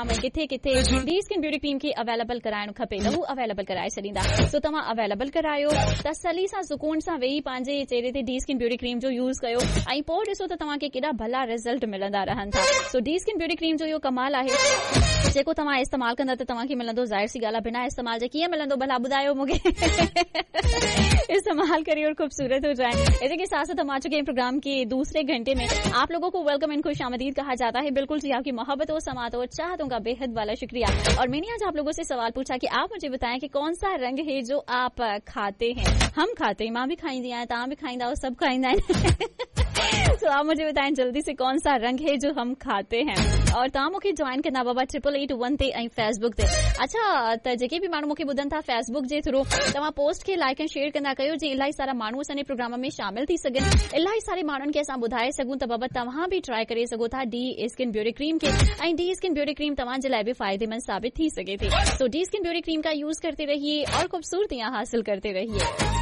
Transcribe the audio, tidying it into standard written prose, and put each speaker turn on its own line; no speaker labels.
۾ ڪٿي ڪٿي D skin beauty ڪريم کي اويليبل ڪرائڻ کپي ته هو اويليبل ڪرائي ڇڏيندا. سو توهان اويليبل ڪرايو، تسلي سان سڪون سان ويهي پنهنجي چهري تي ڊي اسڪن بيوٽي ڪريم جو يوز ڪيو ۽ پوء ڏسو ته توهان کي ڪيڏا ڀلا رزلٽ ملندا رهن ٿا. سو ڊي اسڪن بيوٽي ڪريم جو اهو ڪمال آهي جيڪو توهان استعمال ڪندا ته توهان کي ملندو. ظاهر سي ڳالهه آهي بنا استعمال جي ڪيئن ملندو ڀلا ٻڌايو مون کي. استعمال ڪريي اور خوبصورت هو جائين. इसी के साथ साथ हम आ चुके हैं प्रोग्राम के दूसरे घंटे में. आप लोगों को welcome and खुश आमदीद कहा जाता है. बिल्कुल जी, आपकी मोहब्बत समात और चाहतों का बेहद वाला शुक्रिया. और मैंने आज आप लोगों से सवाल पूछा कि आप मुझे बताएं कि कौन सा रंग है जो आप खाते हैं. हम खाते हैं, मां बि खाईंदी आहियां, तव्हां बि खाईंदा, सभु खाईंदा आहिनि. तो आप मुझे बताएं जल्दी से कौन सा रंग है जो हम खाते हैं. और तव्हां मूंखे जॉइन कंदा बाबा 8881 ते ऐं फेसबुक ते. अच्छा, त जेके बि माण्हू मूंखे ॿुधनि था फेसबुक जे थ्रू, तव्हां पोस्ट खे लाइक ऐं शेयर कंदा कयो जीअं इलाही सारा माण्हू असांजे प्रोग्राम में शामिल थी सघनि, इलाही सारे माण्हुनि खे असां ॿुधाए सघूं त बाबा तव्हां बि ट्राई करे सघो था डी स्किन ब्यूटी क्रीम खे ऐं डी स्किन ब्यूटी क्रीम तव्हांजे लाइ बि फ़ाइदेमंद साबित थी सघे थी. तो डी स्किन ब्यूटी क्रीम का यूज करते रहिए और खूबसूरतियां हासिल करते रहिए.